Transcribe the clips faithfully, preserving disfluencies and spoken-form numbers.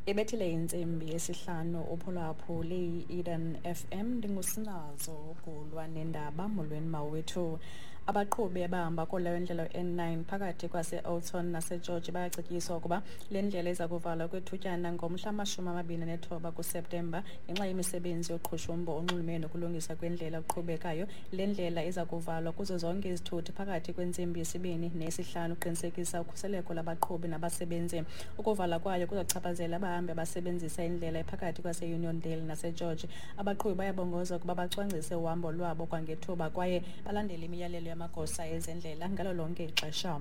Ibethile intsimbi yesihlanu uphulaphuli i-Eden F M, ndingusinazo ugulwa nendaba. Molweni mawethu. Abaqhubi abahamba kuleyo ndlela N nine phakathi kwase-Oudtshoorn naseGeorge bayacetyiswa ukuba le ndlela iza kuvalwa kwethutyana ngomhla amashumi amabini nethoba kuSeptemba ngenxa yemisebenzi yoqhushumbo onxulumene nokulungiswa kwendlela oqhubekayo. Le ndlela iza kuvalwa kuzo zonke izithuthi phakathi kwentsimbi yesibini neyesihlanu ukuqinisekisa ukhuseleko lwabaqhubi nabasebenzi. Ukuvalwa kwayo kuzochaphazela abahambi abasebenzisa indlela ephakathi kwase-Uniondale naseGeorge. Abaqhubi bayabongozwa ukuba bacwangcise uhambo lwabo kwangethuba kwaye balandele imiyalelo yamagosa ezendlela ngalo lonke ixesha.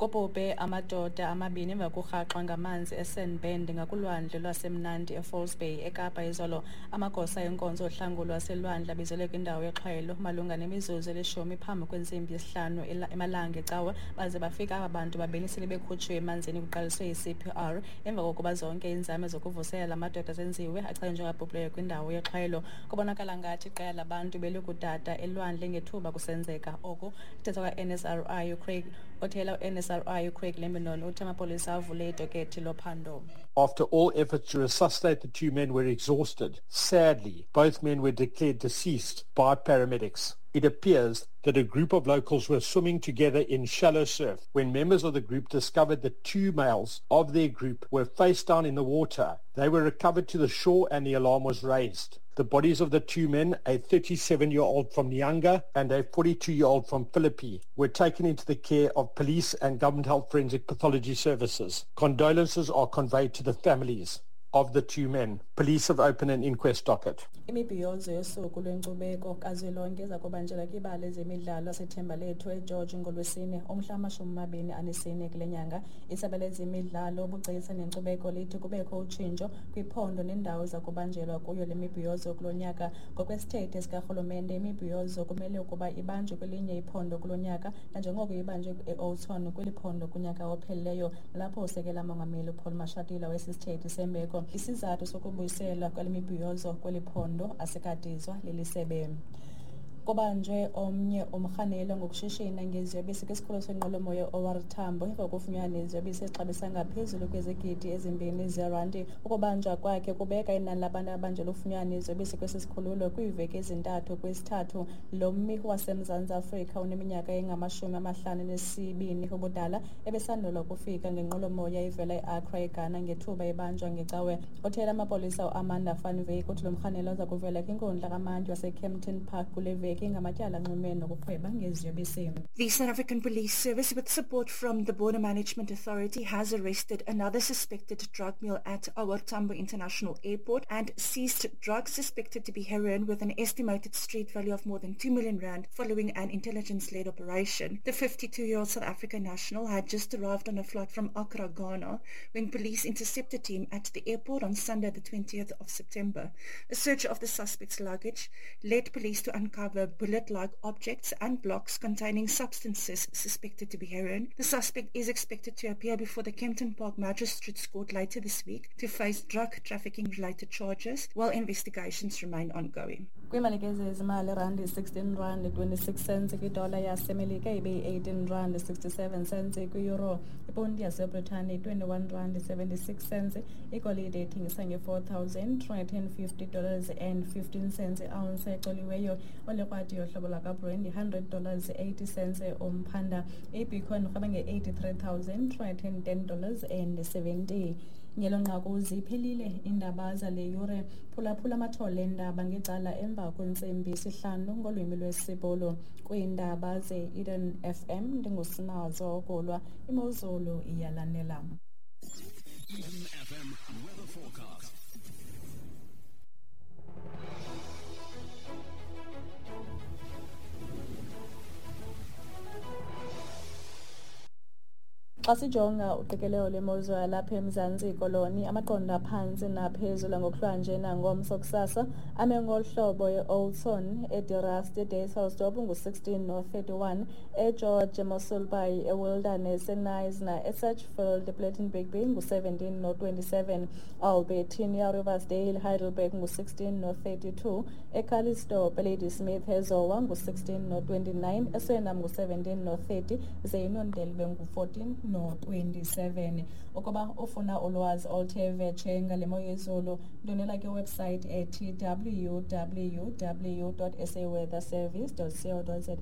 Kubhubhe amadoda amabini emva kokurhaxwa ngamanzi eSandbend ngakulwandle lwaseMnandi eFalls Bay eKapa izolo. Amagosa enkonzo ohlangulo lwaselwandle abizelwe kwindawo yexhwayelo malunga nemizuzu elishumi phambi kwentsimbi yesihlanu emalanga ecawe, baze bafika aba bantu babini sele bekhutshiwe emanzini kuqaliswe i-C P R. Emva kokuba zonke iinzame zokuvuselela la madoda zenziwe, achazwe njengabhubhileyo kwindawo yexhwayelo. Kubonakala ngathi iqela labantu belikudada elwandle ngethuba kusenzeka oku. Uthetha kwa-N S R I uCraig othela u-N S R I uCraig Lambinon uthi amapolisa avule idokethi lophando. After all efforts to resuscitate the two men were exhausted. Sadly, both men were declared deceased by paramedics. It appears that a group of locals were swimming together in shallow surf when members of the group discovered that two males of their group were face down in the water. They were recovered to the shore and the alarm was raised. The bodies of the two men, a thirty-seven-year-old from Nyanga and a forty-two-year-old from Philippi, were taken into the care of police and government health forensic pathology services. Condolences are conveyed to the families of the two men. Police have opened an inquest docket. Imibhiyozo yosuku lwenkcubeko kazwelonke iza kubanjelwa kwibala lezemidlalo laseThembalethu eGeorge ngolwesine umhla amashumi amabini anesine kule nyanga. Isebe lezemidlalo, ubugcisa nenkcubeko lithi kubekho utshintsho kwiphondo nendawo eza kubanjelwa kuyo le mibhiyozo kulo nyaka. Ngokwesithethe sikarhulumente, imibhiyozo kumele ukuba ibanjwe kwelinye iphondo kulo nyaka, nanjengoko ibanjwe e-Oudtshoorn kweli phondo kunyaka ophelileyo, nalapho usekela mongameli uPaul Mashatile wesisithethe sembeko. Isizathu sokubuyiselwa kwale mibhiyozo kweli phondo asikadizwa leli sebe. Kubanjwe omnye umrhanelwa ngokushishina ngeziyobisi kwisikhululo senqwelomoya O R Tambo emva kokufunyanwa neziyobisi ezixabisa ngaphezulu kwezigidi ezimbini zeerandi. Ukubanjwa kwakhe kubeka inani labantu abanjelwe ukufunyanwa neziyobisi kwesi sikhululo kwiiveki ezintathu kwesithathu. Lo mmi waseMzantsi Afrika uneminyaka engamashumi amahlanu nesibini ubudala ebesandula ukufika ngenqwelomoya ivela eAccra eGhana ngethuba ebanjwa ngecawe. Othela amapolisa uAmanda van Wyk uthi lo mrhanelwa uza kuvela kwinkundla kamantyi waseKempton Park kule veki ngamatyala anxulumene nokurhweba ngeziyobisi. The South African Police Service, with support from the Border Management Authority, has arrested another suspected drug mule at O R Tambo International Airport and seized drugs suspected to be heroin with an estimated street value of more than two million rand following an intelligence-led operation. The fifty-two-year-old South African national had just arrived on a flight from Accra, Ghana, when police intercepted him at the airport on Sunday, the twentieth of September. A search of the suspect's luggage led police to uncover bullet-like objects and blocks containing substances suspected to be heroin. The suspect is expected to appear before the Kempton Park Magistrates Court later this week to face drug trafficking-related charges while investigations remain ongoing. Kwiimalike zezimali, randi sixteen rand twenty-six cents kwidola yasemelika ibe yi-eighteen rand sixty-seven cents kwi-euro. Iponti yaseBritane twenty-one rand seventy-six cents. Igolide ithengisa nge-four thousand three hundred and fifty dollars and fifteen cents i-ounce ecoliweyo. Olekrwati yohlobo lwakwaBrand hundred dollars eighty cents umphanda. Ibitcoin irhweba nge-eighty-three thousand three hundred and ten dollars and seventy. Ngelo nqaku ziphelile iindaba zale yure. Phulaphula amathole eendaba ngecala emva kwentsimbi yesihlanu ngolwimi lwesiBhulu. Kwiindaba ze-Eden F M ndingusinazo Ogulwa. Imozulu iyalandela. Eden F M weather forecast. Xa sijonga uqikelelo lwemozulu yalapha eMzantsi Koloni, amaqondo aphantsi naphezulu ngokuhlwanje nangomso kusasa ame ngolu hlobo: e-Oudtshoorn, eDe-Rust, eDysselsdorp ngu-sixteen no-thirty-one, eGeorge, eMossel Bay, eWilderness, eKnysna, eSedgefield, ePlettenberg Bay ngu-seventeen no-twenty-seven, Albertinia, Riversdale, Heidelberg ngu-sixteen no-thirty-two, eCalitzdorp, eLadysmith, eZowa ngu-sixteen no-twenty-nine, eSwellnum ngu-seventeen no-thirty, ze-Uniondale bengu-fourteen no-twenty-seven. Ukuba ufuna ulwazi oluthe vetshe ngale mo yezulu, ndwendwela kwiwebsite ethi w w w dot s a weather service dot co dot za.